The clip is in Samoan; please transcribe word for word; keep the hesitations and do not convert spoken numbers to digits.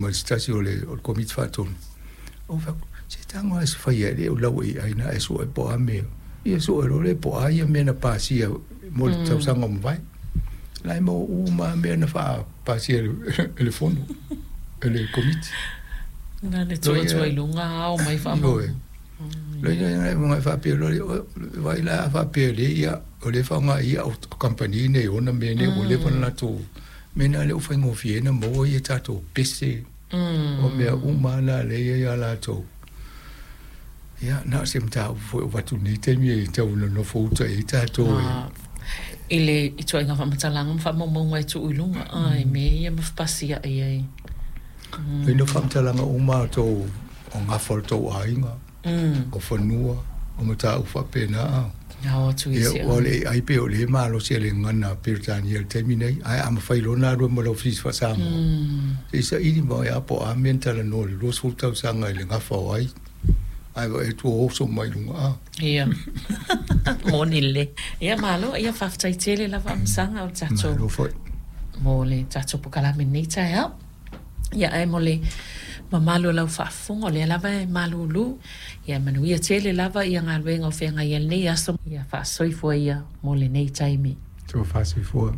Ma le se tasi o le o le Komiti Faatonu, ou fai atu, se tago lava e se faia e le o lau A I na e sue po o a mea. Ia sue loa lea po o a ia mea na pasia mo le tausaga ua mavae. La e maua uma lava mea na faapasia e le fono, e le Komiti. Na le tuu atu ai luga ao mai faamaumauga. Loia faapea loa vai la a faapea le ia o le faaaoga ia o kamupani nei ona mea nei ua leva ona latou mea na le o faigofie na maua ia tatou pese o mea uma na lea e ia latou. Ia na o se mataupu foi o avatu i lenei taimi e tau nonofo uta i ai tatou e. I le ituaiga faamatalaga ma faamaumauga e tuu i luga ai mea ia ma fepasiai ai. Ina faamatalaga uma tou o gafa o le tou aiga, o fanua, o mataupu faapena. Ao atu i Ia se ua o le A I pei o le malosi a le gagana Peretania i le taimi nei, ae a mafai loa ona alu ai ma lau fesili faa-Samoa, se i saili mai lava po o a mea na talanoa i le luasefulu tausaga i le gafa o ai, ae vaai atu ua oso mai luga a. Ia. Moni lelei. Ia malo, ia faafetai tele lava Afamasaga o le tatou Malo foi. Mo le tatou polokalame i lenei taeao. Ia ae mo le mamalu o lau faafofoga o lea lava e malulu. Ia manuia tele lava ia galuega o feagai ai lenei aso. Ia faasoifua ia mo lenei taimi. Tofa soifua.